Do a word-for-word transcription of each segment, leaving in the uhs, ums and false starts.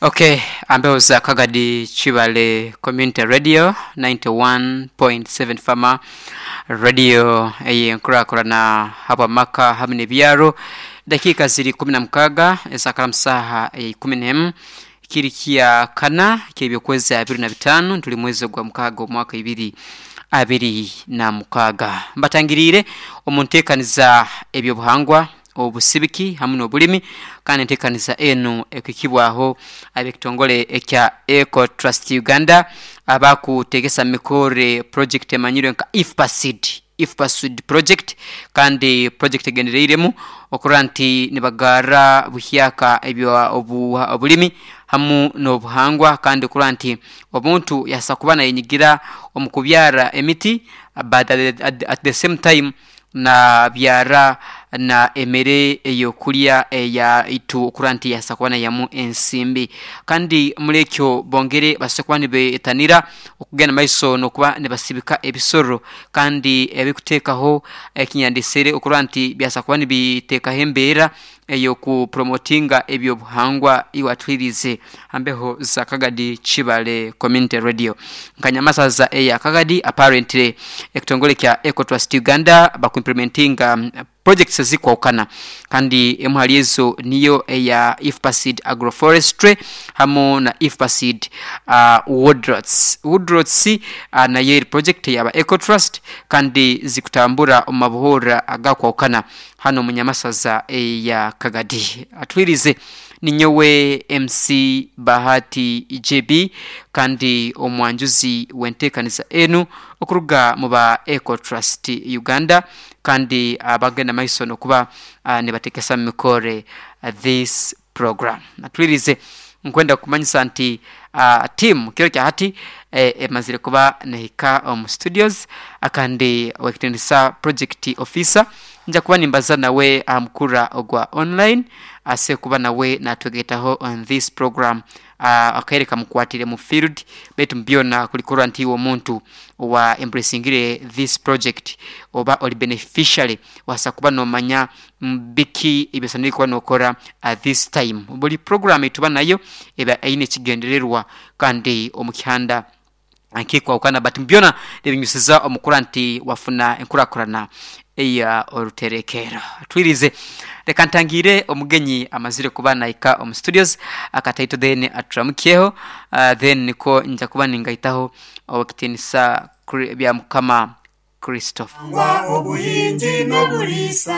Okay, ambeho za Kagadi Chibale Community Radio ninety-one point seven Farmer Radio eyenkurakurana habwa maka hamwe n'ebyaro. Dakika ziri kumi na mukaga ezakara musaha ikumi n'emu kiri kya kana ky'ebyokwezi abiri na bitaano, tuli mwezi gwa mukaga omwaka ibiri abiri na mukaga. Mbatangiriire omu nteekaniza ebyobuhangwa, obusibiki hamwe n'obulimi, kandi enteekaniza enu ekukibwaho ab'ekitongole ekya Eco Trust Uganda abakutegesa mikore project emanyirwe nka IFPASID, IFPASID project, kandi project egendereiremu okurora nti nibagara buhyaka ebyo obulimi hamu n'obuhangwa, kandi okurora nti omuntu yasa kuba nayenyigira omu kubyara emiti, but at, at, at the same time na byara na emere eyokulya eya itu okurora nti yasa kuba nayamu ensimbi. Kandi muri ekyo bongere basa kuba nibetanira okugenda maiso n'okuba nibasibika ebisoro, kandi ebikuteekaho ekinyandisire okurora nti byasa kuba nibiteekaho embeera eyokupromotinga ebyobuhangwa iwatwirize ambeho za Kagadi Chibale Community Radio. Nkanyamasaza eya Kagadi, apparently ekitongole kya Eco Trust Uganda bakuimplementinga projects ezikwawukana, kandi emu hali ezo niyo eya IFPASID Agroforestry hamu na IFPASID uh, Woodrots. Woodrots uh, nayo eri project yaba Eco Trust, kandi zikutambura omu mabuhura agakwawukana hano munyamasaza eya Kagadi. Atwirize ninyowe M C Bahati J B, kandi omwanjuzi w'enteekaniza enu okuruga mu ba Eco Trust Uganda, kandi abagenda maiso n'okuba uh, nibatekesa mikore uh, this program. Atwirize nkwenda kumanyisa nti uh, team kiro kya hati emazire kuba nehika omu studios, akandi wekitendesa project officer nja kuba nimbaza nawe amukura ogwa online ase kuba nawe natwegetaho on this program, uh, akaereka mukwatire mu field betu mbyona kulikora nti uwo muntu wa embracingire this project oba oli beneficiary wasa kuba nomanya mbiki ibisanire kuba nokora at this time. Buli program etuba nayo eba aine kigendererwa kandi omukihanda akikwa ukana, but mbyona nebinyusiza omukura nti wafuna enkurakurana eya oruterekero. Twirize reka ntangire omugenyi amazire kuba naika omu studios akataito then aturamukeho, uh, then niko nja kuba ningaitaho okitinisa bya Mukama Christopher. Ngwa obuhingi n'obulisa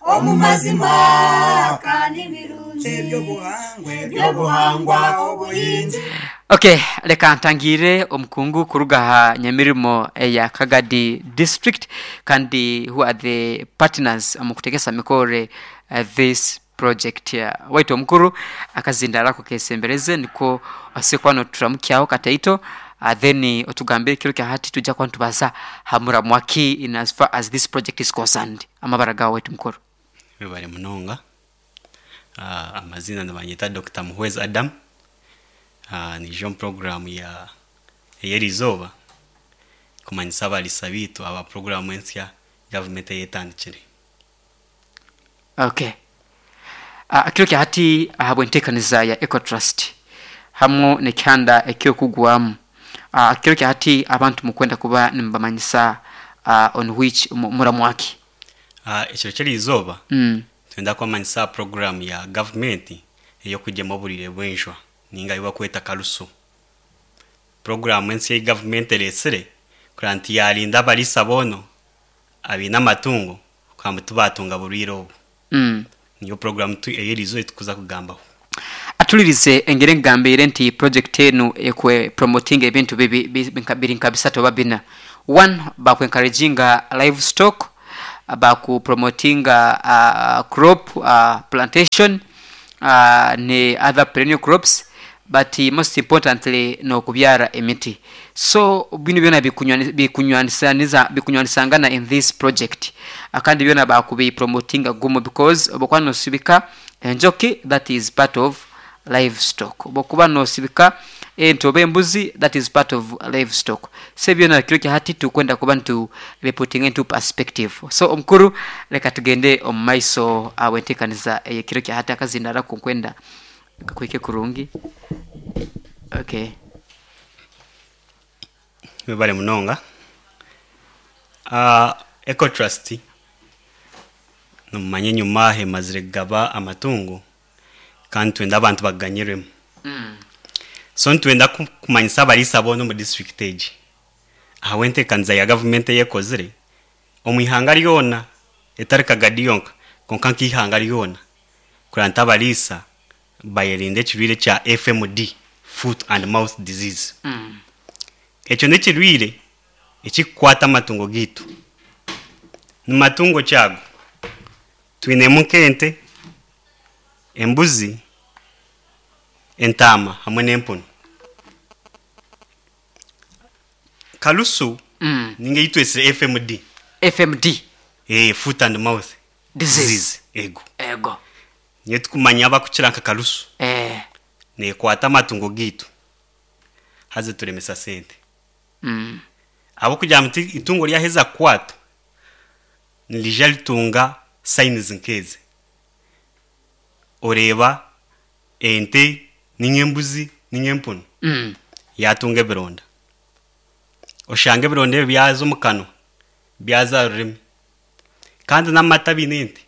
omu mazima kandi birungi ebyobuhangwa ebyobuhangwa obuhingi. Okay, leka ntangire omukungu kuruga ha nyamirimo eya Kagadi district, kandi who are the partners mu kutegesa mikore uh, this project. uh, waitu omukuru akazinda rako kesembereze niko asekwano turamukyaho kataito, uh, then otugambire kiro kya hati tujja kwa ntubaza hamura mwaki in as far as this project is concerned. Amabara gawe waitu mukuru. Bari munonga. Uh, amazina nabanyeta Doctor Muhwezi Adam. Uh, ni jean program ya eyerizoba kumanyisa abalisa bitu aba program ensya government yetandikire. Okay. Uh, kiro kya hati ahabwe ntekaniza ya Eco Trust hamwe nekyanda ekyokugwamu. Uh, kiro kya hati abantu mukwenda kuba nimbamanyisa uh, on which muramwaki. Uh, ekiro kyerizoba mm. twenda kwamanyisa program ya government eyokujema oburire bwenjwa ninga iwa kweta karusu. Program ensi ya government eresire kuranti yarinda abalisa bono abina amatungo kwamba tubatunga buriro obu. Mm. Niyo program tu eyerizo etukuza kugambaho. Atulirize engere ngambire nti project enu ekwe promoting ebintu bibi biri nkabisatu oba bina. One, baku encouraginga livestock, baku promotinga uh, crop uh, plantation uh, ne other perennial crops, but most importantly no kubyara emiti. So bino byona bikunywanisaniza bikunywanisangana in this project, akandi byona bakubi promotinga gumo because obokwa no sibika enjoki, that is part of livestock, bokuba no sibika ento embuzi, that is part of livestock. Se byona kiro kya hati tukwenda kuba ntu reporting into perspective. So omukuru leka tugende omumaiso awentekaniza ekiro kya hati akazindara ku kwenda Kakwike kurungi. Okay. Webale munonga. uh, Ecotrust nomumanya enyuma hemazire kugaba amatungo kandi twenda abantu baganyirwemu. Mm. So nitwenda ku- kumanyisa abariisa boona omu district egi ahabw'enteekaniza ya gavumenti eyekozire omu ihanga ryona, etari Kagadi yonka, konka nk'ihanga ryona, kureba nti abariisa bayerinda ekirwire kya F M D, foot and mouth disease. Mm. Ekyo n'ekirwire ekikukwata amatungo gaitu. Ni matungo kyago twinemu nk'ente, embuzi, entaama hamwe n'empunu. Karusu Mm. ninga eyitwesire F M D. F M D. eh, foot and mouth disease. Ego. Ego. Niyo tukumanya abakukira nka karusu. Eh. Nekwata amatungo gaitu, haze turemesa sente. Mm. Abo kugira nti itungo ryaheza kukwatwa nirija ritunga signs nk'ezi: oreeba ente ninga embuzi ninga empunu Mm. yatunga ebironda, oshanga ebironda ebi byaza omu kanwa, byaza aha rurimi, kandi n'amata biine ente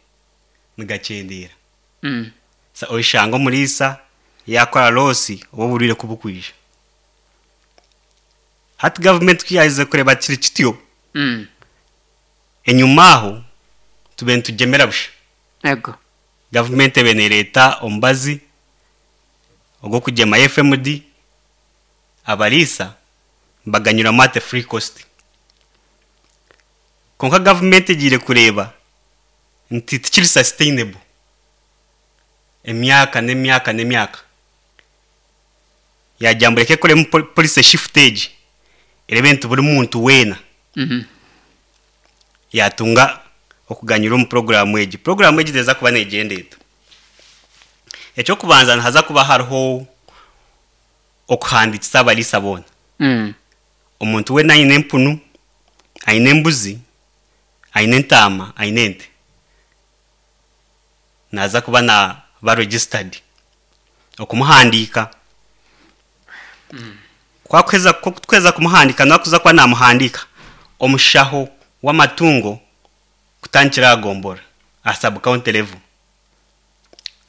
nigakyendeera. Mm. Sa oshanga omuriisa yakora loss oba oburwire kubukwija. Hati gavumenti kuyaheze kureba kiri kityo, Mm. enyuma aho tube nitugyemera busha. Ego. Gavumenti ebe nereeta omubazi ogw'okugyema F M D, abariisa baganyurwamu at free cost. Konka gavumenti egiire kureeba nti tikiri sustainable emyaka n'emyaka n'emyaka, yagira ngu reka ekoremu pol- policy shift egi, erebe nti buri muntu weena Mm. yatunga okuganyura omu porogaramu egi. Porogaramu egi teza kuba negyenda eta? Ekyokubanza, nihaza kuba hariho okuhandikisa abariisa boona. Mm. Omuntu weena aine empunu, aine embuzi, aine entaama, aine ente, naza kuba naba registered okumuhandiika. Kwakuheza kweza kumuhandika, nakuza kuba namuhandika omushaho w'amatungo kutandikira agombora aha sub county level,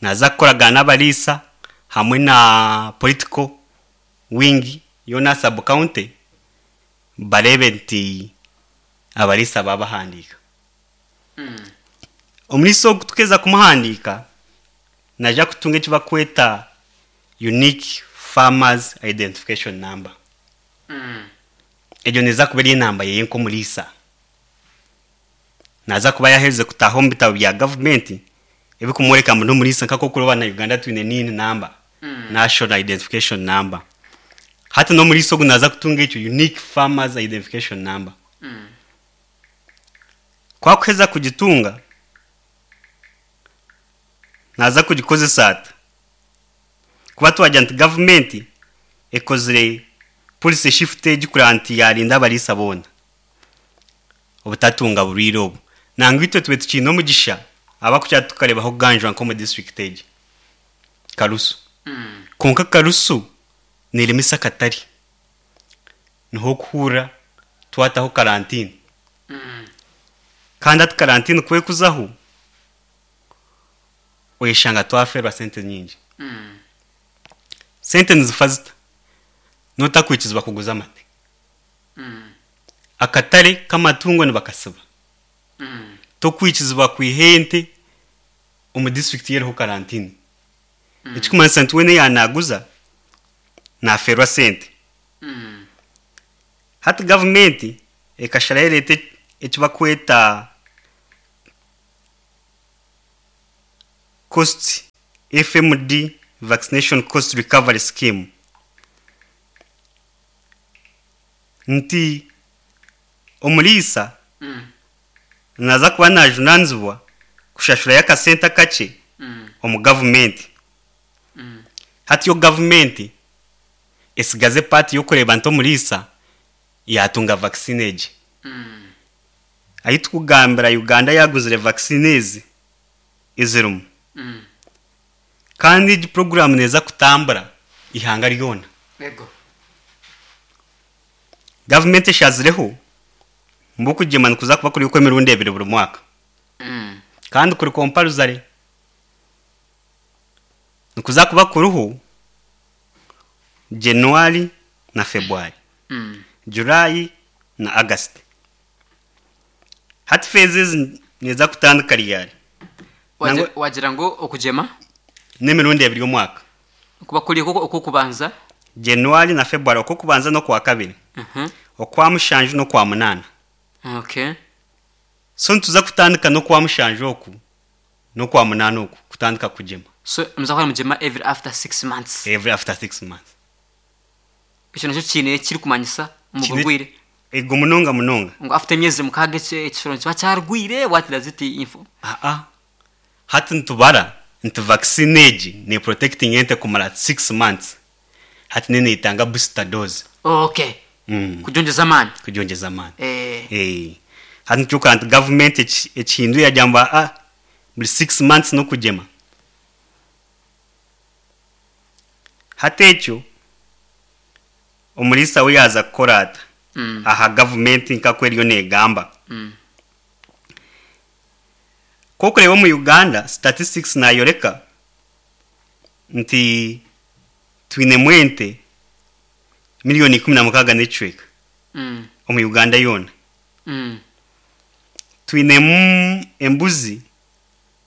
naza kukoragana n'abariisa hamwe na political wing yoona sub county, barebe nti abariisa babahandiika. Omuriisa ogu tukeza kumuhandiika, naija kutunga eki bakweta unique farmers identification number. Mm. Egyo neza kuba eri enamba yeye nk'omuriisa. Naza kuba yaherize kutaha omu bitabo bya gavumenti ebikumworeka ngu n'omuriisa, nk'okuroba na Uganda twine NIN number, Mm. national identification number. Hati n'omuriisa ogu naza kutunga ekyo unique farmers identification number. Mm. Kwakuheza kugitunga, naza kugikozesa ata? Kuba twagira nti gavumenti ekozire policy shift egi kureba nti yarinda abariisa boona obutatunga burwire obu. Nangwa itwe tube tukiine omugisha abakukira tukarebaho kuganjwa nk'omu district egi karusu. Mm. Konka karusu neremesa akatare, niho okuhurra twataho karantini. Mm. Kandi ati karantini kwekuzaho, oyeshanga twaferwa sente nyingi. Mm. Sente nizifa zita? Notakwikizibwa kuguza amate. Mm. Akatare k'amatungo nibakasiba. Mm. Tokwikizibwa kwiha ente omu district yeriho karantini, ekikumanyisa nti wene yanaguza naferwa sente. Mm. Hati gavumenti ekasharayo ereeta eki bakweta cost F M D vaccination cost recovery scheme, nti omuriisa Mm. naza kuba najunanizibwa kushashurayo akasente akakye Mm. omu gavumenti. Mm. Hati yo gavumenti esigaze part y'okureeba nti omuriisa yatunga vaccine egi. Mm. Ahi tukugambira, Uganda yaguzire vaccine ezi ezirimu Mm. Kandi egi program neeza kutambura ihanga ryona. Yego. Gavumenti eshazireho mbu okugyema nikuza kuba kuri okw'emirundi ebiri buri mwaka. Mm. Kandi kuri compulsory. Nikuza kuba kuriho January na February. Mm. July na August. Hati phases neza kutandika ryari. Wagira, Nangwa- wagira ngu okugyema N'emirundi ebiri omwaka. kuba kuri okwo okubanza. January na February okwokubanza n'okwa kabiri. Mhm. Okwa mushanju n'okwa munaana. Okay. So nituza kutandika n'okwa mushanju oku n'okwa munaana oku kutandika kugyema. So muza kugyema every after six months. Every after six months. Ekyo nakyo kiine kiri kumanyisa mu Kiine- burwire. Ego munonga munonga. Ngu after emyezi mukaaga eki- ekisoro nikiba kyarwire, what does it info? Aa. Hati nitubara nti vaccine egi ne protecting ente kumara six months. Hati nene itanga booster dose. Okay. Mm. Kugyongyeza amaani. Kugyongyeza amaani. Eh. Eh. Hati nikyokora nti government eki- ekihinduye yagamba ah buri six months n'okugyema. Hati ekyo omuriisa we yaaza kukora ata? Mm. Aha gavumenti nk'oku eriyo neegamba. Mm. K'okureeba omu Uganda statistics nayoreka nti twinemu ente miliyoni ikumi na mukaaga n'ekicweka Mm. omu Uganda yoona. Mm. Twinemu embuzi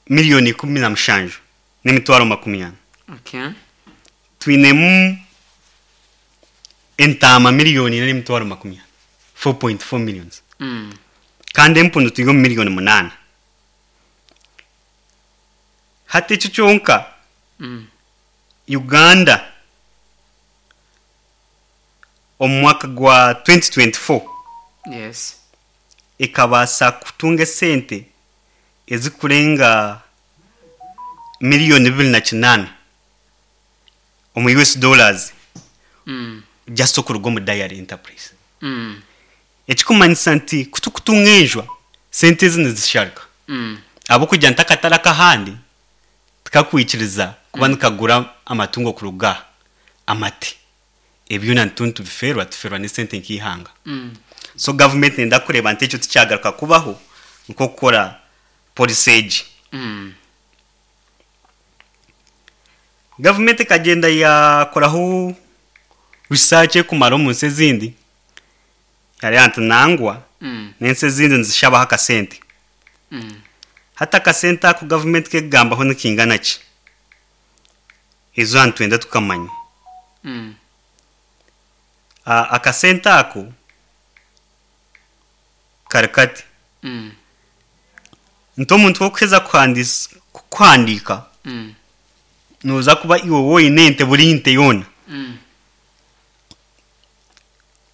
miliyoni ikumi na mushanju n'emitwaro makumi ana. Okay. Twinemu entaama miliyoni ina n'emitwaro makumi ana. four point four millions. Mm. Kandi empundu turi omu miliyoni munaana. Hati ekyo kyonka Mm. Uganda omu mwaka gwa twenty twenty-four Yes. ekabaasa kutunga esente ezikurenga miliyoni bibiri na kinaana omu U S dollars. Mm. Just okuruga omu dairy enterprise. Mm. Ekikumanyisa nti kutukutunga enjwa sente ezi nizisharika. Mm. Ahabw'okugira nti akatare ak'ahandi tikakwikiriza kuba Mm. nikagura amatungo kuruga amate. Ebyona nituntu tubiferwa, tuferwa n'esente nk'ihanga. Mm. So government nenda kureeba nti ekyo tikyagaruka kubaho nk'okukora policy egi. Mm. Government ekagenda yakoraho research ekumara omu nsi ezindi. Yareeba nti nangwa Mm. n'ensi ezindi nizishabaho akasente. Mm. Hati akasente ako government kekugambaho nikingana ki? Ezo nitwenda tukamanya. Mm. A-, akasente ako kari kati. Mm. Nti omuntu wokuheza kuhandis-, kuhandiika, Mm. noza kuba iwe woine ente buri nte yoona. Mm.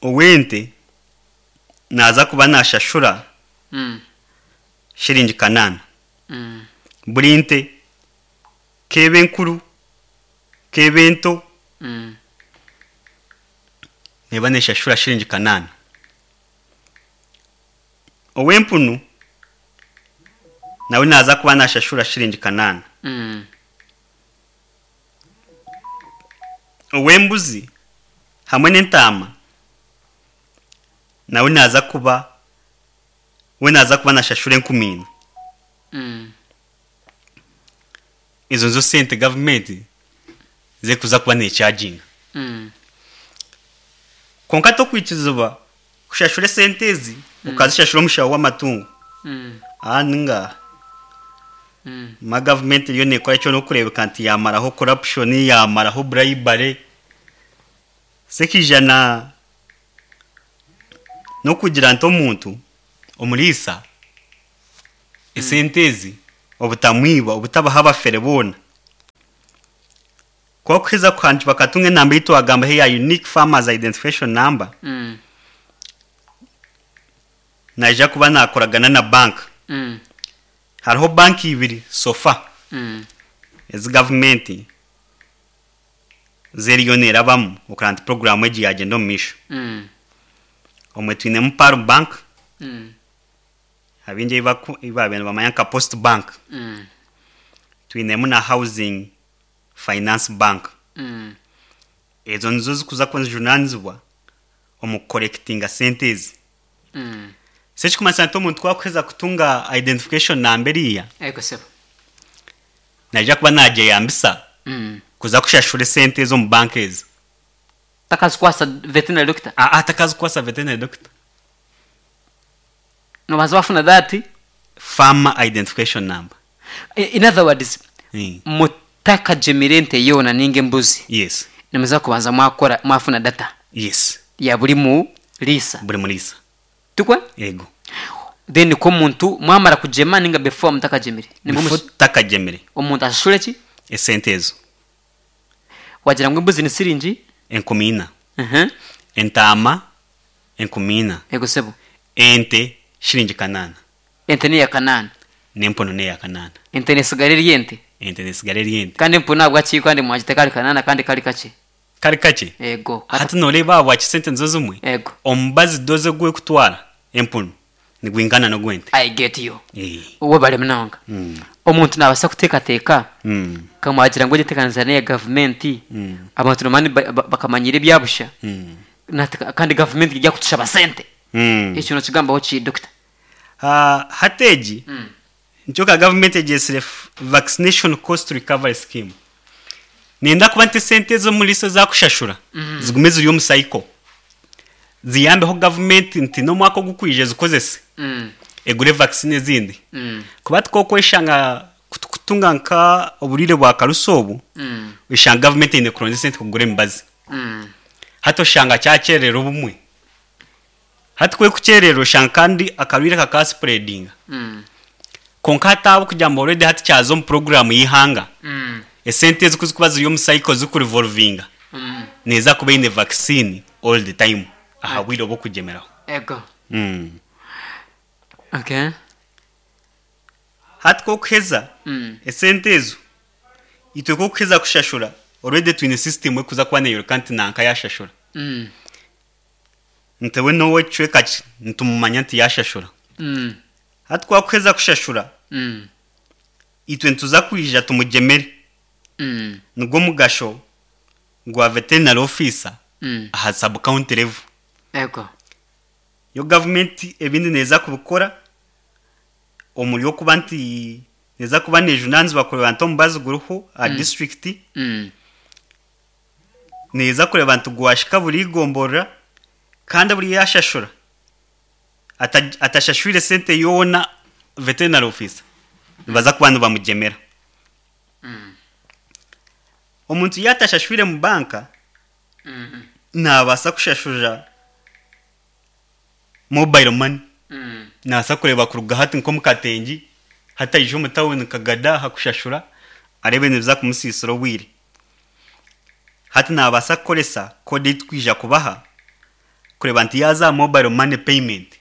Ow'ente naza kuba nashashura Mm. shiringi kanaana. Mm. Buri nte kebe enkuru kebe ento Mm. neba neshashura shiringi kanaana. Ow'empunu nawe naza kuba nashashura shiringi kanaana. Mm. Ow'embuzi hamwe n'entaama nawe naza kuba we naza kuba nashashura enkumi ina. Mm. Ezo nizo sente gavumenti zekuza kuba necharginga. Mm. Kwonka tokwikirizibwa kushashura esente ezi Mm. ukazishashura omushaho w'amatungo. Mm. Aha ningaha. Mm. Ma gavumenti eriyo nekora ekyo n'okureebeka nti yamaraho corruption, yamaraho bribery. Sekijana n'okugira nti omuntu omuriisa esente ezi obutamwiba obutabaha abafere boona. Kwakuheza kuhandiika bakatunga enamba ei twagamba ya unique farmers identification number. Mm. Naija kuba nakoragana na bank. Mm. Hariho banki ibiri sofa. Mm. Ezi gavumenti zeriyo nerabamu okuraba nti programu egi yagenda omu maisho. Mm. Omwe twinemu Pearl Bank. Mm. Abingi ei baku-, ei baabaire nibamanya nka Post Bank. Mm. Twinemu na Housing Finance Bank. Mm. Ezo nizo zikuza kuba nizijunanizibwa omu kukorekitinga sente ezi. Mm. So ekikumanyisa nti omuntu wakuheza kutunga identification number eriya, Ego sebo. naija kuba nagyeyambisa Mm. kuza kushashura esente ezo omu banka ezi. Takazikwasa veterinary doctor. Ah, ah, takazikwasa veterinary doctor. Nobaza wafuna that. Farmer identification number. In other words, Mm. mutakagemire ente yoona ninga embuzi. Yes. Nimuza kubanza mwakora mwafuna data Yes. ya buri mu lisa. Buri murisa. Tukwe? Ego. Then ko omuntu mwamara kugema ninga before mutakagemire. Before takagemire. Omuntu ashashure ki? Esente ezo. Wagira ngo embuzi ni siringi? Enkumi ina. Mhm. Entaama enkumi ina. Ego sebo. Ente shiringi kanana. Ente ni ya kanana. N'empunu ni eya kanana. Ente nesigara eri ente. Ente nesigara eri ente. Kandi empunu ntabwo akiri kandi mwagite kari kanana kandi kari kake. Kari kake? Ego. Hati noreeba ahabwaki sente nizo zimwe? Ego. Omubazi doze gwekutwara empunu nigwingana n'ogwente. I get you. Eh. Uwo bari munonga. Mm. Omuntu nabasa kuteekateeka Mm. kamwagira ngo gitekaniriza n'iya gavumenti. Mm. Abantu nomani bakamanyira ebyabusha. Mm. Nati- kandi gavumenti ijya kutushaba sente. Mm. Ekyo nokigambaho ki doctor? Ah, hati egi Mm. nikyo ka gavumenti egyesire vaccination cost recovery scheme. Nenda kuba nti sente ez'omuriisa ezakushashura Mm. zigume ziri omu cycle. Ziyambeho gavumenti nti n'omwaka ogukwija zikozese. Mm. Egure vaccine ezindi. Mm. Kuba tikokweshanga kutunga nka oburire bwa karusi obu, Mm. oshanga gavumenti eine kuronda esente kugura emibazi. Mm. Hati oshanga kyakyerera obumwe. Hati kwe kukyerera oshanga kandi akarwire kakaspreadinga. Mm. Konka hati abo kugira ngu already hati kyaza omu program y'ihanga. Mm. Esente ezi kuzikuba ziri omu cycle zikurevolvinga. Mm. Neeza kuba eine vaccine all the time. Aha bwire obw'okugyemeraho. Ego. Mm. Okay. Hati kokuheza Mm. esente ezo itwe kokuheza kushashura already twine system ekuza kuba neyoreka nti nanka yashashura. Mm. Ntewe nowe ecweka ki nitumumanya nti yashashura. Mm. Hati kwakuheza kushashura Mm. itwe nituza kwija tumugemere. Mm. Nigwo mugasho gwa veterinary officer Mm. aha sub county level. Ego. Yo government ebindi neza kubikora omuri okuba nti neza kuba nejunanizibwa kureba nti omubazi guriho aha Mm. district. Mm. Neza kureba nti gwashika buri igomborora kandi buri yashashura. Ata-, atashashwire sente yoona veterinary officer. Nibaza kuba nibamugemera. Mm. Omuntu yatashashwire mu banka Mm. nabaasa kushashura mobile money. Mm. Nabaasa kureeba kuruga hati nk'omu katengi hataija omu tawuni Kagada hakushashura areebe nibiza kumusiisira obwire. Hati nabaasa kukoresa kode ei tukwija kubaha kureeba nti yaaza aha mobile money payment.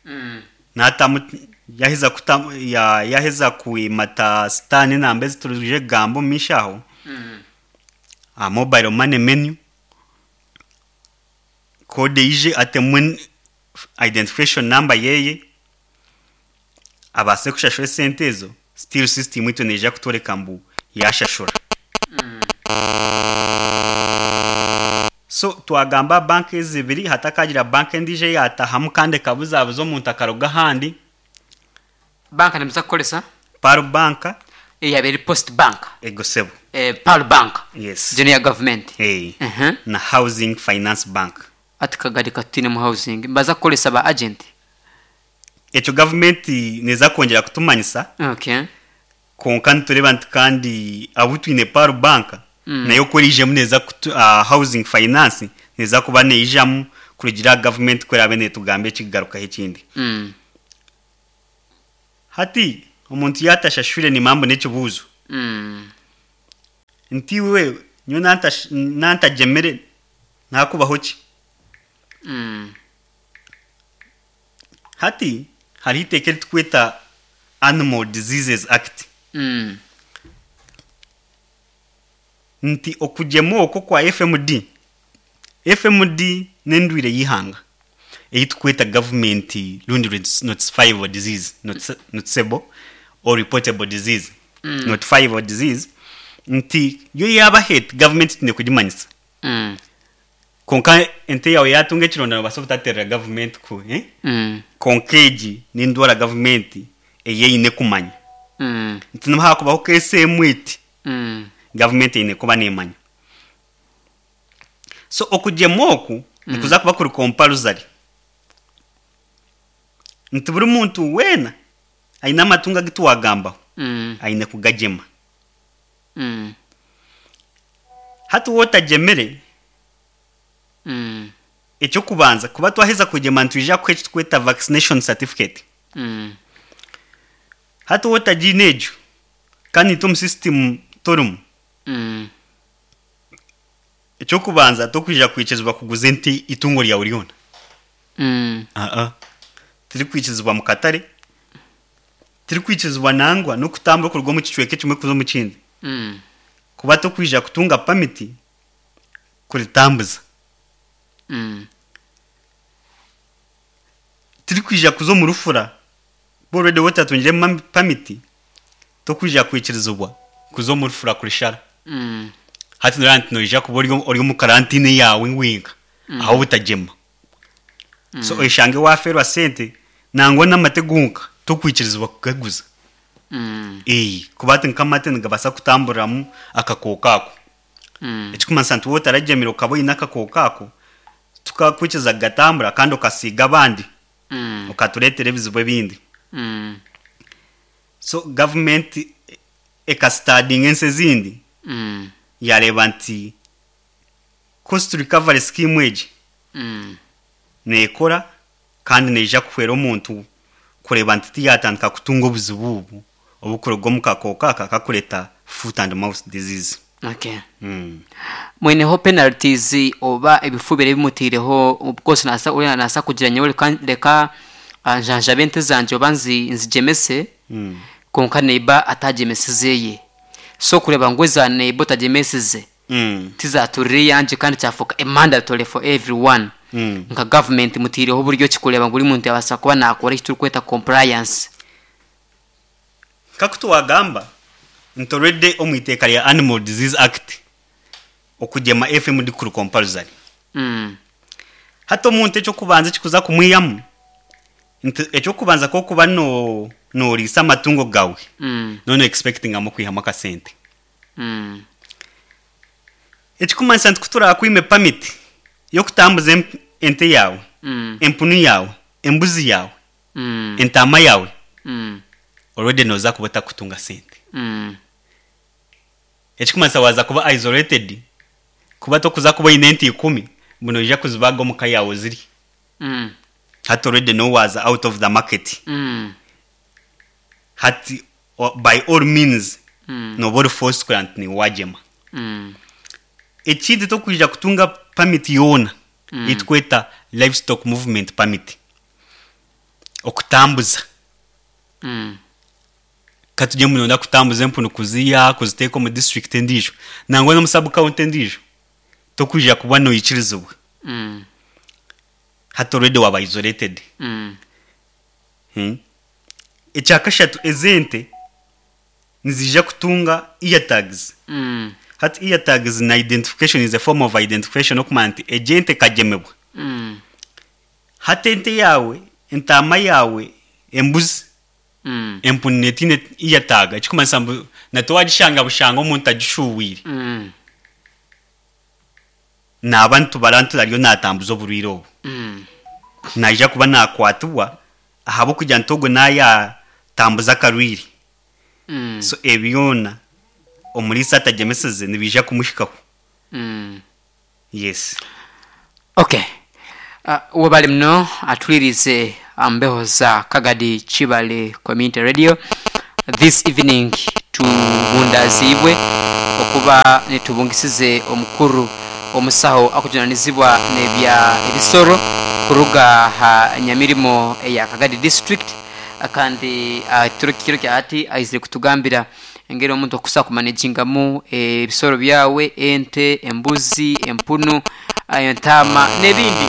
Mm. Natamu yaheza kutamu ya yaheza kuimata star n'enamba ezi turije kugamba omu maisho aho. Mm. Aha mobile money menu kode ije atemu identification number yeye abaase kushashura esente ezo still system itwe neija kutworeka mbu yashashura. Mm. So twagamba banka ezi ibiri hatakagira banka endiijo eyatahamu kandi ekabuzabuza omuntu akaruga ahandi. Banka nimuza kukoresa? Pearl Bank. Eyaba eri Post Bank. Ego sebo. Eh, Pearl Bank. Yes. Junior government. Hey. Uh-huh. Na Housing Finance Bank. Ati Kagadi katwine mu housing. Mbaza kukoresa ba agent. Ekyo government neza kwongera kutumanyisa. Okay. Konka nitureba nti kandi abu twine Pearl Bank Mm. nayo ko erijemu neza kutu, uh, Housing Finance neza kuba neijamu kurugira government ko erabe netugamba ekigarukaho ekindi. Mm. Hati omuntu yatashashure ni mambo n'ekibuuzo. Mm. Nti we nyo nanta nantagemere nakubaho ki? Mm. Hati hariho iteeka eritukweta Animal Diseases Act. Mm. Nti okugyema okwo kwa F M D. F M D n'endwire y'ihanga eyitukweta government rundi notifiable disease, noticeable or reportable disease. Mm. Notifiable disease. Nti yo yaba hate government tine kugimanyisa. Mm. Konka ente yawe yatunga ekironda nobaasa obutaterera government ku eh? Mm. Konka egi n'endwara government eyeine kumanya. Mm. Nti nihakubaho case emwe eti Mm. government eine kuba nemanya. So okugyema oku nikuza kuba kuri compulsory. Nti buri muntu weena aine amatungo agu tuwagambaho Mm. aine kugagyema. Mm. Hati wotagyemere Mm. ekyokubanza kuba twaheza kugyema nitwija kuha eki tukweta vaccination certificate. Mm. Hati wotagiine egyo kandi itwe omu system torimu Mm. ekyokubanza tokwija kwikirizibwa kuguza ente itungo ryawe ryona. Mm. Aa tirikwikirizibwa mu katare, tirikwikirizibwa nangwa n'okutambura kuruga omu kicweka ekimwe kuza omu kindi. Mm. Kuba tokwija kutunga pamiti kuritambuza. Mm. Tirikwija kuza omu rufura already wotatungire pamiti tokwija kwikirizibwa kuza omu rufura kurishara. Mm. Hati noreba nti noija kuba ori ori omu karantine yawe wenka aho butagyema. So oyeshange waferwa sente nangwa n'amate gonka tokwikirizibwa kugaguza. Mm. Ee, kuba ati nk'amate nigabaasa kutamburiramu akakooko ako. Mm. Ekikumanyisa nti wotaragyemire okaba oine akakooko ako tukakwikiriza kugatambura kandi okasiiga abandi Mm. okatureetera ebizibu ebindi. Mm. So government ekastadinga ensi ezindi Mm. yareeba nti cost recovery scheme egi Mm. neekora kandi neija kuhwera omuntu kureeba nti tiyatandika kutunga obuzibu obu obukuruga omu kakooko aka kakureeta foot and mouth disease. Okay. Mm. Mwineho penalties oba ebifubiro ebimutiireho of nasa uriya nasa kugira nyowe reka reka ah, njanjabe ente zangye oba nzi nzigyemese Mm. konka neiba atagyemesizeye so kureba ngu eza neiba otagyemesize Mm. tizaturire eyangye kandi kyafuuka a mandatory for everyone. Mm. Nka government mutiireho oburyo ki kureba ngu buri muntu yabaasa kuba nakora eki turikweta compliance. Nkaku tuwagamba nti already omu iteeka rya Animal Disease Act okugyema F M D kuri compulsory. Mm. Hati omuntu ekyokubanza ekikuza kumwihamu nti ekyokubanza kokuba no noriisa amatungo gawe Mm. nono expectingamu kwihamu akasente. Mm. Ekikumanyisa nti kuturakwime permit y'okutambuza emp-, ente yawe, Mm. empunu yawe, embuzi yawe, Mm. entama yawe, Mm. already noza kuba otakutunga sente. Mm. Ekikumanyisa waza kuba isolated, kuba tokuza kuba oine ente ikumi, mbu noija kuzibaga omu ka yawe ziri. Mm. Hati already no waza out of the market. Mm. Hati o-, by all means Mm. noba ori forced kugira nti niwagyema. Mm. Ekindi tokwija kutunga permit yoona Mm. etweta livestock movement permit. Okutambuza. Mm. Katujye munonda kutambuza empunu kuziya kuziteeka omu district endiijo nangwa n'omu sub county endiijo tokwija kuba noikirizibwa. Mm. Hati already waba isolated. Mm. Hmm. Ekyakashatu ezente nizija kutunga ear tags. Mm. Hati ear tags na identification is a form of identification okumanya nti egi kagyemebwa. Mm. Hati ente yawe, entama yawe, embuzi, Mm. empunu netine ear tag ekikumanyisa mbu natowagishanga bushanga omuntu agishuwire. Mm. Naba nitubara nti ariyo natambuza oburwire obu. Mm. Naija kuba nakwatibwa ahabw'okugira nti ogwo nayatambuza akarwire. Mm. So ebyona omuriisa atagyemeseze nibiija kumuhikaho. Mm. Yes. Okay. Uh, webale muno atwirize ambeho za Kagadi Kibale Community Radio this evening tubundazibwe okuba nitubungisize omukuru omusaho akujunanizibwa nebya ebisoro kuruga ha nyamirimo eya Kagadi district kandi uh, kiro kya ati aizire kutugambira engeri omuntu okusa kumanagingamu ebisoro byawe ente, embuzi, empunu, entama n'ebindi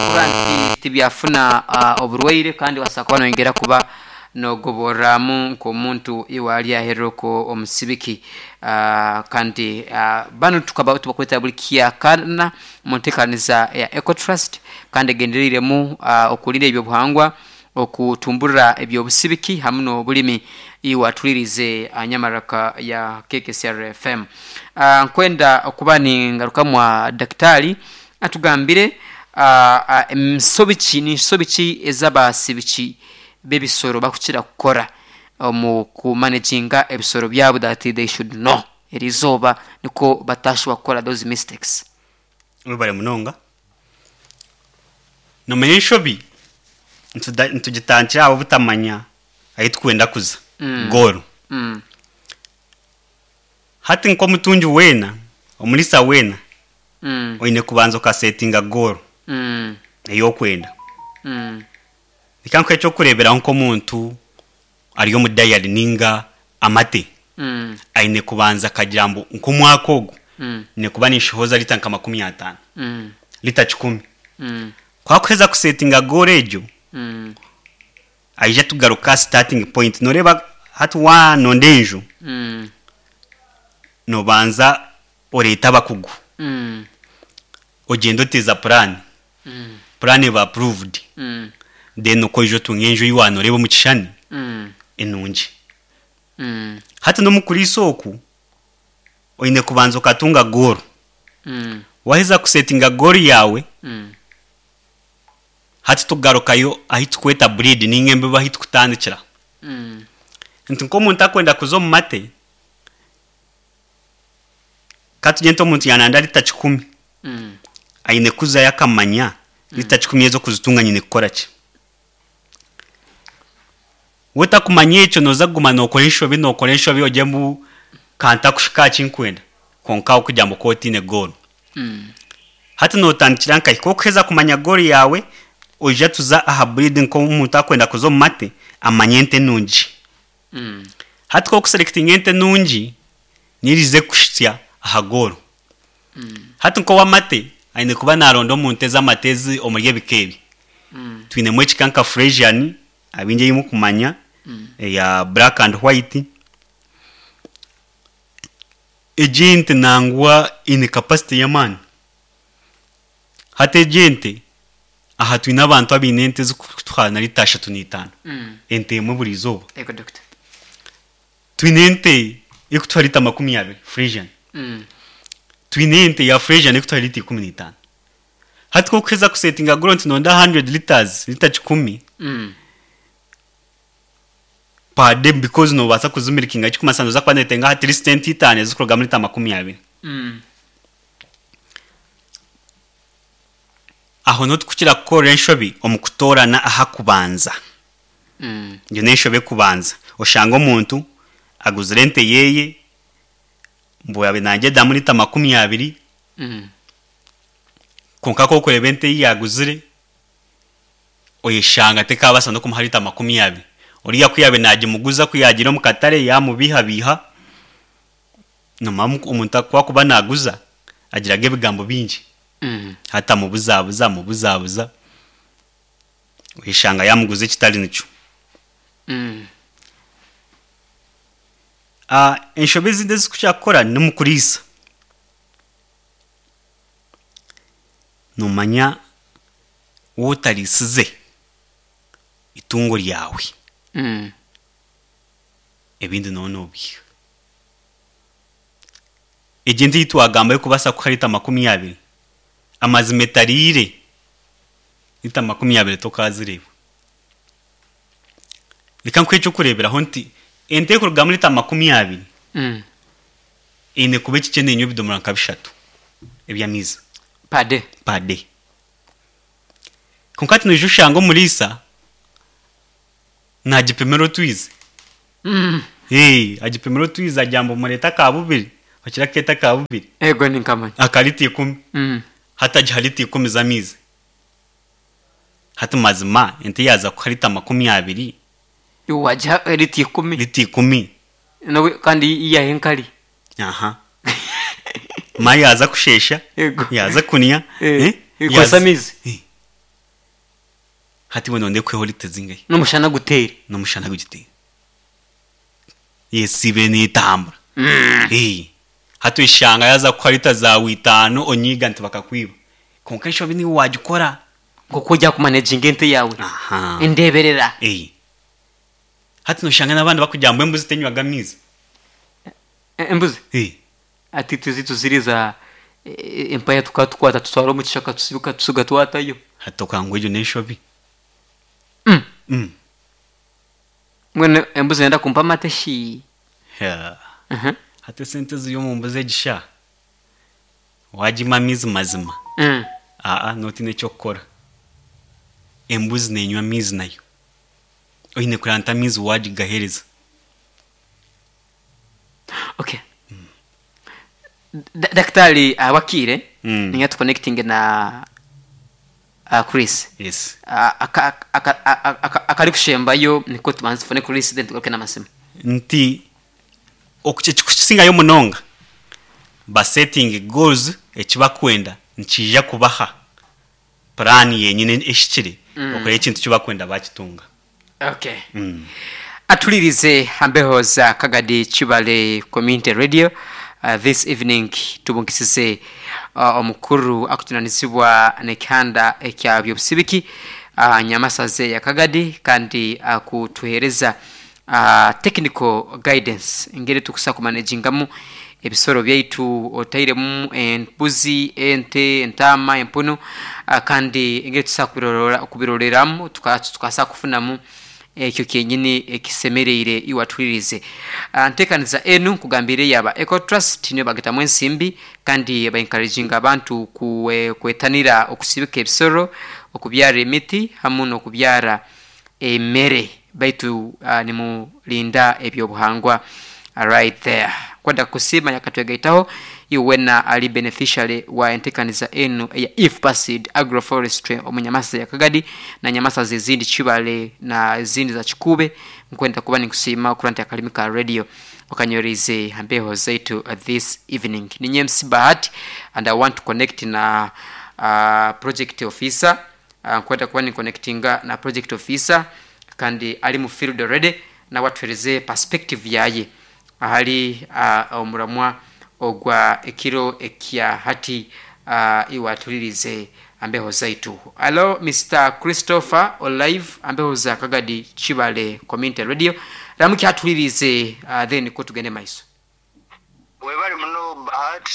okuba nti tibyafuna uh, oburwaire kandi wasaba kuba noyongera kuba Nogoboramu nk'omuntu iwe ali aheroko omusibiki. uh, kandi uh, bano tukaba tubakweta buli kyakana mu nteekaniza ya Ecotrust, kandi egendereiremu uh, okulinda ebyobuhangwa, okutumburira ebyobusibiki hamu n'obulimi. Iwe atulirize anyamaraka ya K K C R F M. Uh, nkwenda okuba ningarukamwa daktari atugambire uh, nsobi ni nsobi ki ez'abasibiki b'ebisoro bakukira kukora omu kumanaginga ebisoro byabo that they should know erizoba niko batashobora kukora those mistakes. Webale munonga. Nomenya enshobi ntugitandikira abo butamanya ahi tukwenda kuza. Mm. Goal. Mm. Hati nk'omutungi weena, omulisa weena, Mm. oine kubanza okasetinga goal. Mm. Ey'okwenda. Mm. Reka nkuhe ekyokureeberaho nk'omuntu ari omu dayari ninga amate. Mm. Aine kubanza akagira ngu nk'omwaka ogu, Mm. nyine kuba ninshohoza lita nka makumi ataano. Mm. Lita kikumi. Mm. Kwakuheza kusetinga goal egyo, Mm. aija tugaruka starting point. Noreeba hati wanonda enju, Mm. nobanza oreeta abakugu. Mm. Ogenda oteeza plan. Mm. Plan eba approved. Mm. Then okoija otunga enju ei wanoreeba omu kishani Mm. enungi. Mm. Hati n'omukuriisa oku, oine kubanza okatunga goal. Mm. Waheza kusetinga goal yawe, Mm. hati tugarukayo ahi tukweta breed ninga embibo ahi tukutandikira. Mm. Nti nk'omuntu akwenda kuza omu mate, katugye omuntu yananda lita kikumi. Mm. Aine kuzayo akamanya lita kikumi ezo kuzitunga nyine kukora ki. Wotakumanya ekyo noza kuguma nokora enshobi, nokora enshobi ogye mu kanta kushika kinkwenda. Konka okugira ngu kotiine goal. Mm. Hati notandikira nkahi kokuheza kumanya goal yawe, oija tuza aha breed nk'omuntu akwenda kuza omu mate, amanye ente nungi. Mm. Hati kokuselectinga ente nungi, nirize kushitsya aha goal. Mm. Hati nk'owamate, aine kuba naronda omuntu ez'amate ezi omuri ebika ebi. Mm. Twinemu ekika nka Frisian, abingi ei mukumanya, Mm. eya black and white. Egi ente nangwa eine capacity y'amaani. Hati egi ente, aha twine abantu abaine ente ezikutuha na lita ashatu n'itaano. Mm. Ente emwe buri izooba. Ego doctor. Twine ente ekutuha lita makumi abiri, Frisian. Mm. Twine ente ya Frisian ekutuha lita ikumi n'itaano. Hati kokuheza kusetinga goal nti nonda hundred liters, lita kikumi. Mm. Per day because nobaasa kuzimirikinga kikumi noza kuba netenga at least ente itaano ezikurugamu lita makumi abiri. Mm. Aho notukukira kukora enshobi omu kutoorana aha kubanza. Mm. Egyo n'enshobi ekubanza. Oshanga omuntu aguzire ente yeye, mbu yabe nagyedamu lita makumi abiri. Mm. Konka kokureba ente ei yaguzire, oyeshanga tekabaasa n'okumuha lita makumi abiri. Oriya ku yabe nagimuguza ku yagira omu katare yamubihabiha, nomanya omuntu kwakuba naguza agiraga ebigambo bingi. Mm. Hati amubuzabuza, amubuzabuza, oyeshanga yamuguza ekitari nikyo. Mm. Ah, enshobi ezindi ezikukira kukora ni mu kuriisa. Nomanya wootarisize itungo ryawe. Mm. Ebindi noba nobiha. Egi ente ei twagamba erikubaasa kuha lita makumi abiri, amazima etariire lita makumi abiri tokazireeba. Reka nkuhe ekyokureeberaho nti ente erikurugamu lita makumi abiri, Mm. eine kuba ekikye nenywa ebidomora nka bishatu eby'amaizi. Per day. Per day. Konka hati noija oshanga omuriisa nagipimira otwizi. Mm. Hey, agipimira otwizi agira ngu murete aka bubiri, okira akeeta aka bubiri. Ego ninkamanya. Aka lita ikumi. Mm. Hati agiha lita ikumi z'amaizi. Hati mazima ente yaza kuha lita makumi abiri. Wagiha lita ikumi. Lita ikumi. Nawe kandi iyahe enkari. Aha. Ma yaza kushesha. Ego. Yaza kunya. Eh, Eh? ikozesa Yaza- amaizi. Eh. Hati we nonde kweho lita zingahi? N'omushana guteere. N'omushana gugiteere. Yesibe n'etambura. Mm. Eh. Hati eshanga yaza kuha lita zawe itaano, onyiga nti bakakwiba. Konka enshobi niwe wagikora. Nk'oku ojya kumanaginga ente yawe. Aha. Endeberera. Eh. Hati noshanga n'abandi bakugira ngu embuzi tenywaga amaizi. E- embuzi Eh. Ati tuzi tuziriza e- empaya tukatukwata tutwara omu kishaka tusibuka tusiga twatayo. Hati okanga egyo n'enshobi. Mm. Mm. Mbwenu embuzi nenda kumpa amate shi? Yeah. Mhm. Hati esente ziri omu mbuzi egisha. Wagima amaizi mazima. Mm. Aa, notiine eky'okukora. Embuzi nenywa amaizi nayo. Oine kuranta amaizi wagigahereza. Okay. Da- Daktari uh, Wakire Mm. ninga tuconnecting na uh, Chris. Yes. Uh, aka- aka- aka- aka- akari kushembayo niko tubanze tufone Chris, then tugaruke n'amasimu. Nti ekikukisingayo munonga, ba setting goals, ekibakwenda nikija kubaha plan yenyine eshikire Mm. okora ekintu kibakwenda bakitunga. Okay. Mm. Atulirize ambeho za Kagadi Chibale Community Radio. uh, this evening tubungisize uh, omukuru akutunanizibwa nekihanda ekya byobusibiki uh, nyamasaze ya Kagadi, kandi akutuhereza uh, technical guidance engeri tukusa kumanagingamu ebisoro byaitu, otairemu embuzi, ente, entama, empunu, uh, kandi engeri tusa kubirorera- kubiroreramu tuka- tukasa kufunamu ekyo kyenyini ekisemereire. Iwatulirize Ah, ntekaniza enu nkugambire yaba Eco Trust, niyo bagitamu ensimbi kandi baencouraginga abantu kwe- kwetanira okusibika ebisoro, okubyara emiti hamu n'okubyara emere, baitu uh, nimulinda ebyobuhangwa. Right there, kwenda kusima yakatwegaitaho iwena ali beneficiary wa entekaniza enu eya IFPASID agroforestry omu nyamasa ya Kagadi na nyamasa zezindi Chibale na ezindi za Chikube. Nkwenda kuba nikusiima okuranta akalimi ka radio okanyoreze hambeho zaitu uh, this evening. Ninye M C Bahati, and I want to connect na uh, project officer. uh, nkwenda kuba ni connectinga na project officer kandi ali mu field already, nawe atuhereze perspective yaye ahali uh, omuramwa ogwa ekiro ekya hati. uh, iwatulirize ambeho zaitu. Alo, Mister Christopher Olive, ambeho za Kagadi Chibale Community Radio, ramuki atulirize, uh, then ko tugende maiso. Webale muno Bahat,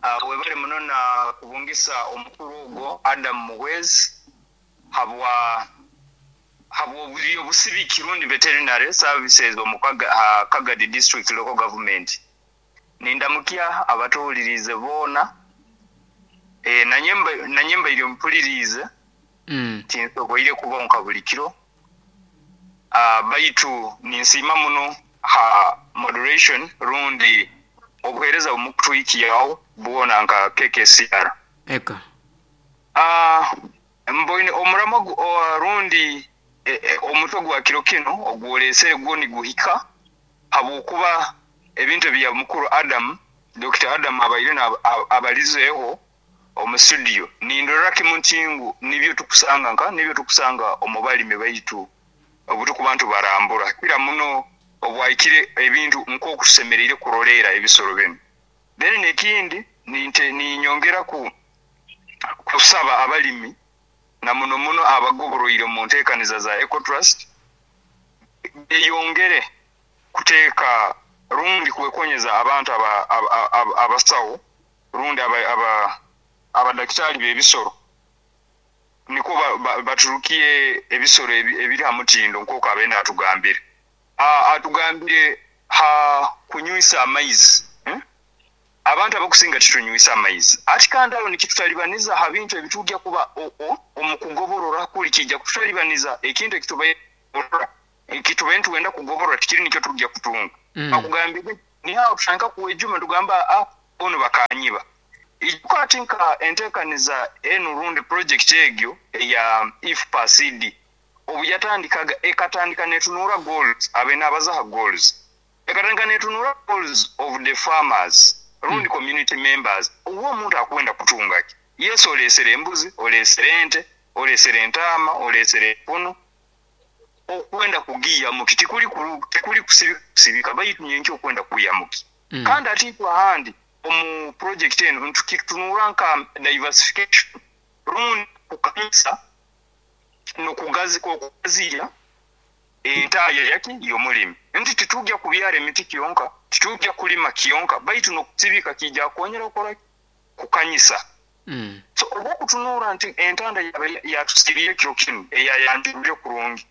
uh, webale muno na kubungisa omukuru ogwo Adam Muhwezi habwa habwa obusibiki rundi veterinary services omu Kaga- ha Kagadi District Local Government. Nindamukya abatuwulirize boona. e, nanyemba nanyembaire mpulirize mm. tinsoboire kubonka buli kiro, uh, baitu ninsiima muno ha moderation rundi obuheereza bumukutwikiyaho bwona nka K K C R. Eko. uh, mboine omurama gu- o- rundi e, e, omutwe gwa kiro kino ogwolesere gwo niguhika habwokuba ebintu ebya mukuru Adam, Doctor Adam abaire na- ab- abalizeeho omu studio, nindorera kimu nti ngu nibyo tukusanga nka nibyo tukusanga omu balimi baitu obu tukuba ntubarambura kira muno obwahikire ebintu nk'okusemereire kuroleera ebisoro binu. Then nekindi ninte ninyongera ku kusaba abalimi na muno muno abagoboroire mu nteekaniza za Ecotrust beyongere kuteeka rundi kwekonyeza abantu aba- aba- aba- abasawo rundi aba- aba- abadakitari b'ebisoro, niko ba- ba- baturukiye ebisoro ebi- ebiri ha mutindo nk'oku abeene atugambire. Ah, atugambire ha kunywisa amaizi, eh? Abantu abakusinga titunywisa amaizi, ati kandi aho nikitutalibaniza ha bintu ebitujja kuba o- o- omu kugoborora kuli kijja kututalibaniza ekintu ekitubaire ekitubaire nituwenda kugoborora tikiri nikyo tujja kutunga. Mm. Akugambire nihaho tutandika kuwejuma tugamba, ah, ono bakanyiba ikwati nka enteekaniza enu rundi project egyo eya IFPACD obu yatandikaga ekatandika netunura goals, abene abazaha goals, ekatandika netunura goals of the farmers rundi mm. community members. Oba omuntu akwenda kutunga ki? Yes, olesere embuzi, olesere ente. Olesere entaama, olesere empunu, okwenda kugiyamuki tikuli kuru- tikuli kusibi- kusibika baitu nyenkya okwenda kuyamuki. Mm. Kandi ati itwe ahandi omu project eno ntukitunura nka diversification rundi kukanisa nokugazi okugaziya entaaya yaki y'omulimi, nti titujja kubyara emiti kyonka, titujja kulima kyonka, baitu nokusibika kijja kwongera okora kukanyisa. Mm. So olwokutunuura nti entanda yabe yatusibire ekiro kinu eyayanjulire kurungi,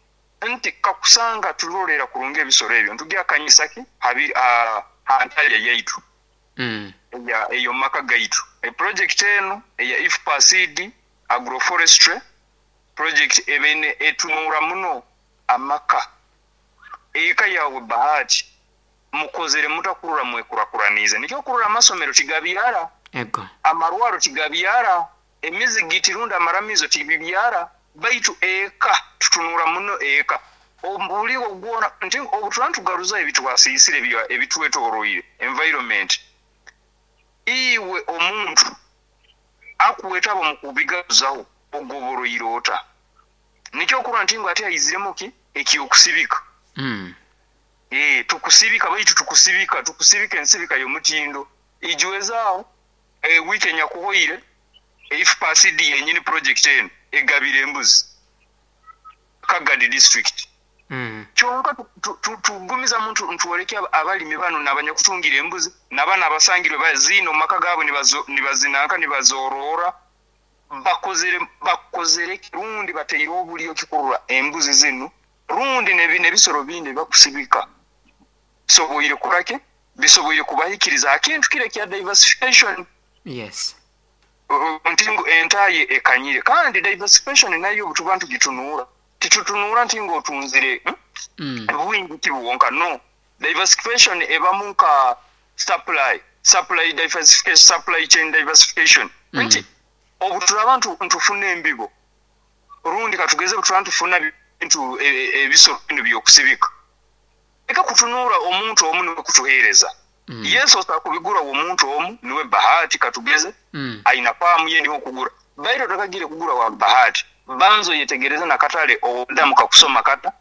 nti kakusanga tulolera kurungi ebisoro ebyo ntujja ki habi ah, ha ntaaya yaitu Mm. eya eyo maka gaitu. E project eno eya IFPACD agroforestry project ebene etunura muno amaka. Eka yawe Bahati mukozere mutakurura mwekurakuranize, nikyo kurura amasomero tigabyara, Ego. amarwaro tigabyara, emizigiti rundi amaramizo tibibyara, baitu eka tutunura muno eka ombuli ogwona nti obutura ntugaruza ebitwasiisire ebya- ebitwetoroire environment. Iwe omuntu akuwetaba mu kubigaruzaho ogoboroire ota? Nikyo kurora nti ngu ati aiziremu ki ekyokusibika. Mm. Eh, tukusibika, baitu tukusibika tukusibika ensibika y'omutindo ijwezaawo. E, wiiki enyakuhoire IFPACD yenyini project eno egabira embuzi Kagadi district. Mm. Kyonka tu- tu- tu- tugumizamu ntu- ntwoleke aba- abalimi bano nabanyakutungira embuzi nabana abasangirwe bazina omu maka gaabo nibazo- nibazinanka nibazorora, bakozere bakozere rundi bateire obulyo kikurura embuzi zinu rundi nebi nebisoro bindi bakusibika bisoboire kurake bisoboire kubahikiriza akintu kire kya diversification. Yes. Uh, nti ngu entaye ekanyire, kandi diversification nayo obutuba ntugitunuura titutunuura nti ngu otunzire, hmm? Mm. Bwingi tibuwonka, no. Diversification ebamu nka supply supply diversification, supply chain diversification. Mm. Nti obuturaba ntu- ntufuna embibo rundi katugeze buturaba ntufuna bintu e- e- ebisoro bino byokusibika, eka kutunuura omuntu omu niwe kutuheereza. Mm. Yesu osobola kubigura omuntu omu niwe Bahati katugeze Mm. aina faamu ye niho okugura, baito otakagire kugura wa Bahati, banza oyetegereze nakatale odamu kakusoma kata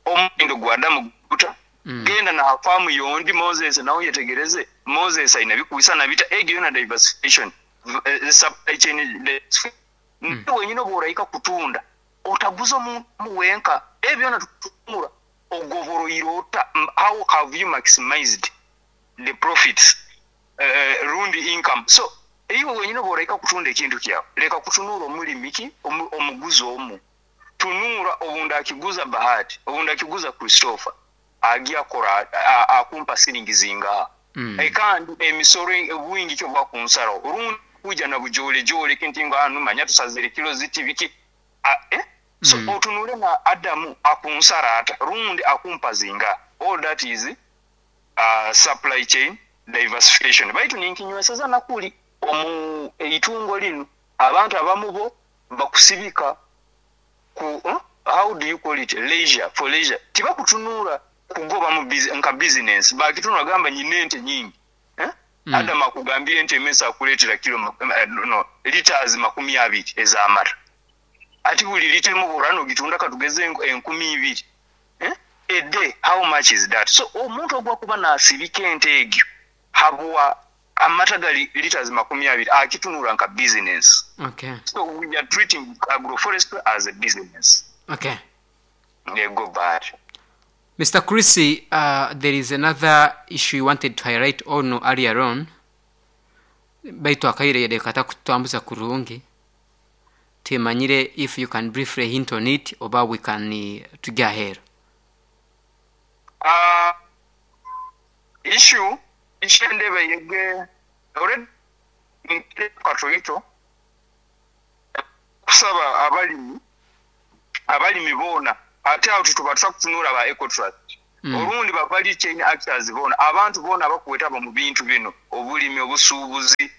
omutindo gwa adamu guta. Mm. Genda na faamu yondi Moses nawe yetegereze Moses aina bikuisa bita egyo yona diversification. V- eh, supply chain diversification. Mm. Niwe wenyine oba orahika kutunda otaguza omuntu wenka, ebyo byona tutumura ogoboroire ota? M- how have you maximized the profits, uh, rundi income? So iwe wenyine oba orahika kutunda ekintu kyawe, leka kutunuura omulimi ki omu- omuguzi omu, tunuura obundi akiguza Bahati, obundi akiguza Christopher, agi akora a- akumpa siringi zingaha? Mm. E, kandi emisoro obwingi kyo bwakunsaraho rundi kuja na bujolejole kinti nga anu manya tusazire kilo ziti biki. A, eh? So Mm. otunule na Adamu akunsara ata rundi akumpa zinga? All that is uh, supply chain diversification. Baitu ninkinyweseza nakuli omu eitungo linu abantu abamu bo bakusibika ku huh? How do you call it, leisure, for leisure. Tibakutunura kugoba mu busi- nka business, bakitunura gamba nyine ente nyingi, eh? Mm. Adam akugambire ente emesa akuleetera kilo mak- eh, no, liters makumi abiri ez'amata, ati buli lita emu burano gitunda katugeze enku- enkumi ibiri, eh? A day, how much is that? So omuntu ogwakuba nasibika ente egyo habwa amata gali liters makumi abiri akitunura nka business. Okay. So we are treating agroforestry as a business. Okay. They go bad. Mister Chris, uh, there is another issue you wanted to highlight on earlier on. Baitu akaire yadekata kutambuza kurungi. Timanyire if you can briefly hint on it oba we can uh, tujya ahero. Uh, issue issue endeba yege already katoito kusaba abalimi abalimi boona ate awo tutuba tusakutunula ba Ecotrust. Mm. Olundi ba value chain actors boona, abantu boona abakuwetaba mu bintu bino, obulimi, obusuubuzi,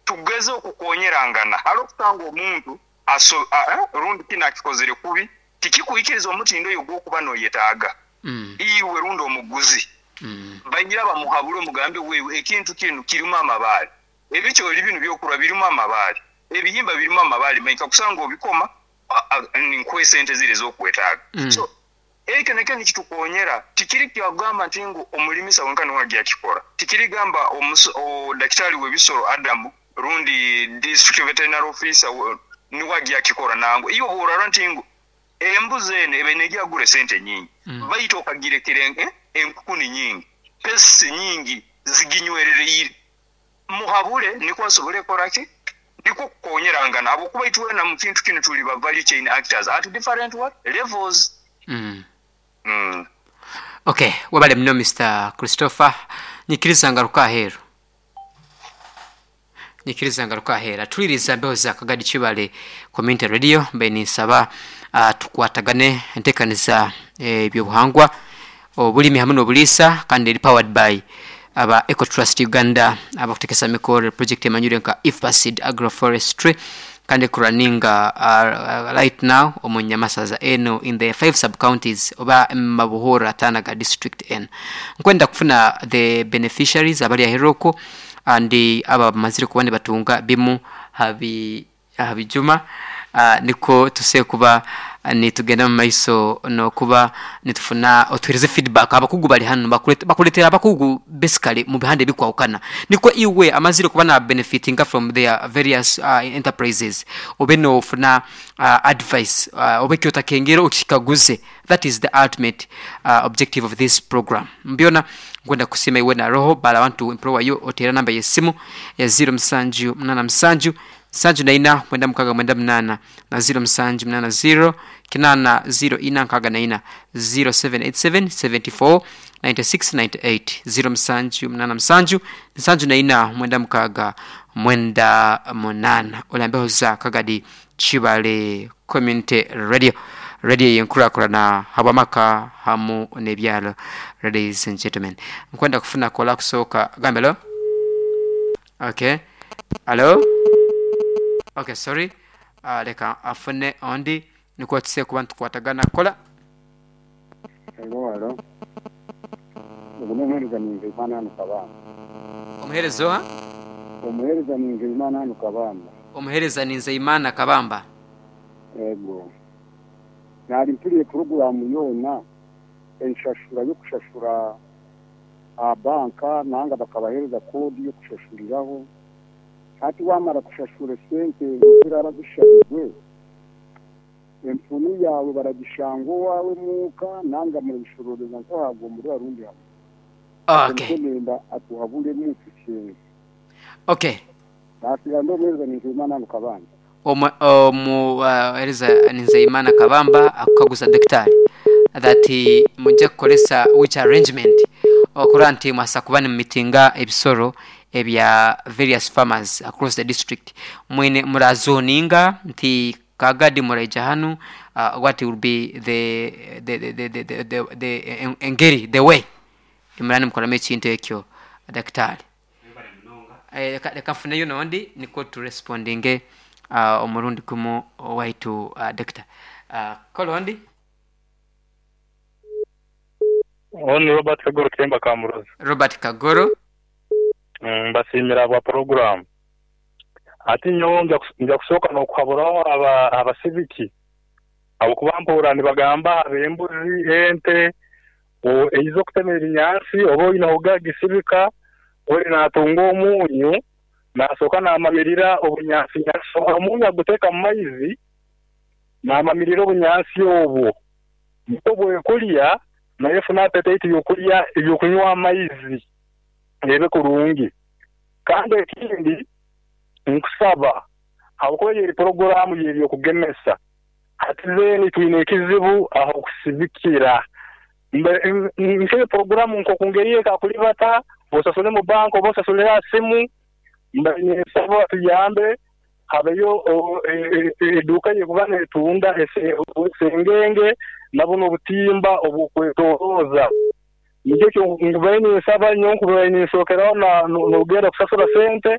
tugeze okukonyerangana. Hali okusanga omuntu aso- a- eh, rundi kino akikozere kubi tikikuikiriza omutindo oyo gw'okuba noyetaaga. Mm. Iwe rundi omuguzi, Mm. banyira bamuhabule omugambe wewe ekintu kino kirimu amabaale, ebikyoli bino byokulwa birimu amabaale. Ebihimba birimu amabaale maingi, kakusanga obikoma nkuha esente ziri ez'okwetaaga. Mm. So ekyo nakyo nikitukonyera. Tikiri kyagamba nti ngu omulimisa wenka niwe agyakikora, tikirigamba omuso- o dakitari w'ebisoro Adamu rundi district veterinary officer we- niwe agyakikora. Nangu iyo bworara nti ngu embuzi eno ebe negyagura esente nyingi, Mm. baitu okagirekera en- enkukuni nyingi, pesi nyingi ziginywerereire, muhabure nikwo asobole koraki, nikwo kukonyerangana, habwokuba itwena mu kintu kinu tuli ba value chain actors at different what levels. Mm. mm. Okay, webale muno Mister Christopher. Nyikiriza ngaruka aheeru, nyikiriza ngaruka aheeru. Atuliriza mbeho za Kagadi Kibale Community Radio. Mbe ninsaba uh, tukwatagane enteekaniza ebyobuhangwa, obulimi hamwe n'obuliisa, kandi eri powered by aba Ecotrust Uganda, abakutekesa mikoro project emanyire nka IFPASID agroforestry, kandi kuraninga uh, right now omu Nyamasaza eno in the five sub counties oba Mabuhura ataana ga district eno. Nkwenda kufuna the beneficiaries abali aheruko and aba bamazire kuba nibatunga bimu habi habijuma, uh, niko tuse kuba nitugenda mu maiso nokuba nitufuna otuhereze feedback. Abakugu bali hano bakulete- bakuletera abakugu basically mu bihande bikwawukana, niko iwe amazire kuba na benefitinga from their various uh, enterprises, obe nofuna uh, advice, uh, obe kyotakengera okikaguze. That is the ultimate uh, objective of this program. Mbyona nkwenda kusima iwe na roho bala abantu improwa yo otera namba yesimu ya zero musanju munana musanju nsanju na ina mwenda mukaga mwenda munana na zero musanju munana zero kinana zero ina nkaga na ina, zero seven eight seven seventy four ninety six ninety eight, zero musanju munana musanju nsanju na ina mwenda mukaga mwenda munana. Olambeho za Kagadi Kibale Community Radio, radio yenkurakurana habwamaka hamu n'ebyalo. Ladies and gentlemen, nkwenda kufuna kola kusooka gambelo. Okay, hello. Okay, sorry, uh, leka afune ondi nikwo tuse kuba ntukwatagana kola. Hello, hello. Ugu n'omuheereza ninze Imana hano Kabamba. Omuheereza oha? Omuheereza ninze Imana hano Kabamba. Omuheereza ninze Imana Kabamba. Ego. Nari mpuriye porogaramu yoona, enshashura yo kushashura aha banka nanga bakabahereza kodi yo kushashuriraho. Hati wamara kushashura esente ziraba zishabirwe, empunu yawe baragishanga owawe muuka nanga murabishororeza nkahabwa muri arundi hamwe. Okay. Nenda atuhabulemu tukyenge. Okay. Nasiga ndi omuheereza ninze Imana hano Kabamba. Omuhereza Nzeyimana Kabamba akukaguza daktari that mujja kukolesa which arrangement okura nti mwasa kuba nimumitinga ebisoro ebya various farmers across the district, mwine murazoninga nti Kagadi muraija hanu, uh, what will be the the the the the, the, the, the engeri, the way imurani mukoramu ekintu ekyo, daktari? Eh, leka leka nfuneyo nondi niko turespondinge uh, omurundi gumu waitu, uh, doctor uh, kolondi. Ono Robert Kagoro Kemba Kamurozi. Robert Kagoro. Mm, mbasiimira bwa poroguramu. Ati nyowe nja kus- nja kusooka n'okuhaburaho aba abasibiki ahabwokuba mpuura nibagamba ab'embuzi, ente o- eiza okutema ebinyaatsi oba oine ogagisibika ori natunga omunyu nasooka namamirira obunyaatsi, omunyu aguteeka mu maizi namamirira obunyaatsi obwo nikwo bwekurya naye efuna appetite y'okurya ebyokunywa amaizi ebe kurungi. Kandi ekindi nkusaba, habwokuba eri poroguramu y'ebyokugemesa, hati then twine ekizibu aho kusibikira. Mbe- n- nk'eyo poroguramu nk'okungeri ekakulibata osasule mu banka oba osasule aha simu, mbe ninsaba tuyambe habeyo o- e- e- eduuka yekuba netunda ese- esengenge nabo n'obutimba obwokwetoroza. Nikyo nkubaire ninsaba nyowe nkubaire ninsookeraho na- no- nogenda kusasura sente.